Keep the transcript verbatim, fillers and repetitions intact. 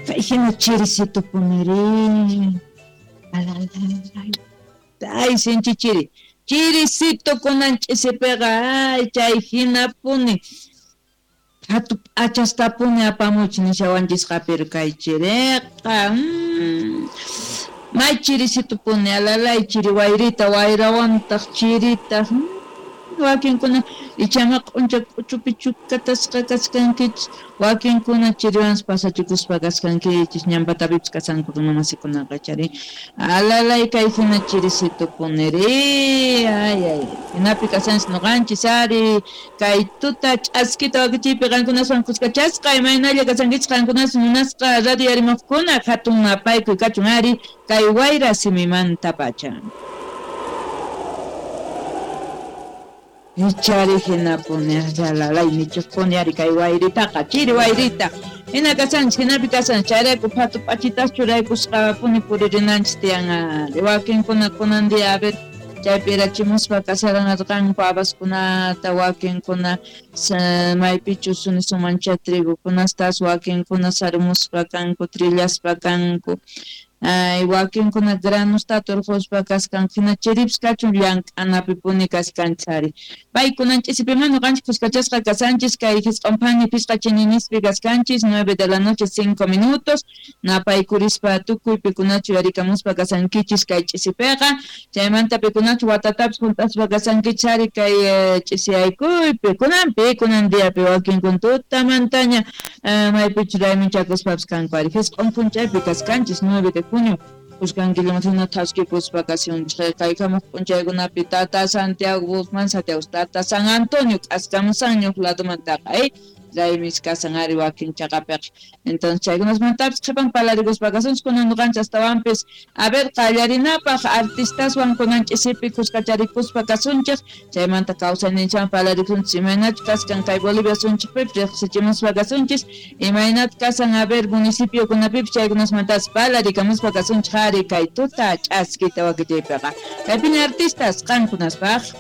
Kay hina chirisito puniri. Ay, sinchi chiri. Chirisito kunan ch'isipiqa, ay, chay hinapuni. Hatu p'achastapuni apamuch nishawanchisqa, pero kay chiriqa. Mm. May chirisito puni, alalay chiri wayrita, wayrawantaq chirita. Mm. Wakinkuna ichama q'uncha k'uchupi chukatasqa kaskankichis, wakinkuna chiriwanpas pasachikuspa kaskankichis, ñanpatapipis kasanku runamasikunaqa chari. Alalay kay hina chirisito puniri, ay ay, hinapi kasanchis nuqanchis ari, kay tuta ch'askita wakichiypi qankunaswan kuskachasqa, imaynalla kasankichis qankunas munasqa radio yarimaqkuna, hatun napaykuy kachun ari, kay wayra simimanta pacha. Ichari hinapuni, alalay nichukpuni ari kay wayritaqa, chiri wayrita. Hina kasanchis, hinapi kasanchis, chayrayku phatu p'achitas churaykusqapuni puririnanchis tiyan ari. Wakinkuna kunan día, a ver, chaypi irachimuspa kasaranarqanku habaskunata, wakinkuna maypichus sunisumancha trigukunastas, wakinkuna sarumuspa kanku, trillaspa kanku. Ay, wakinkuna granusta turquspa kaskan, hina chiripis kachun llank'anapipuni kaskanchis ari. Paykunan ch'isipima ñuqanchis kuskachasqa kasanchis, kay hisq'unphani phisqa chininispi kaskanchis, nueve de la noche cinco minutos, napaykurispa tukuy pikunachu yarikamuspa kasankichis kay ch'isipiqa, chaymanta pikunachu watatapis hunt'aspa kasankichis ari kay eh, ch'isiyaykuypi, kunanpi, kunan diapi wakinkuna tutamantaña eh, maypichu raymichakuspapis kanku ari. Hisq'un p'unchaypi kaskanchis, nueve de junio, kuskankillamasina thaskikuspa kasunchik kay kamuq p'unchaykunapi tata Santiago Guzmán, Santiago tata San Antonio k'askamusanñuq ladomantaqa, eh, raymis kasan ari wakin chaqapiqa. Entonces chaykunasmantapis qhipan palarikuspa kasunchik kunan ñuqanchis astawanpis, a ver, qallarinapaq artistaswan kunan ch'isipi kuskacharikuspa kasunchik, chaymanta kawsayninchikwan palarikunchik imaynachu kaskan kay Bolivia sunchikpipis riqsichimuspa kasunchis, imaynata kasan a ver municipiokunapipis chaykunasmantapas palarikamuspa kasunchik ari kay tuta ch'askita wakichiypiqa. Kaypiña artistas qankunaspaq.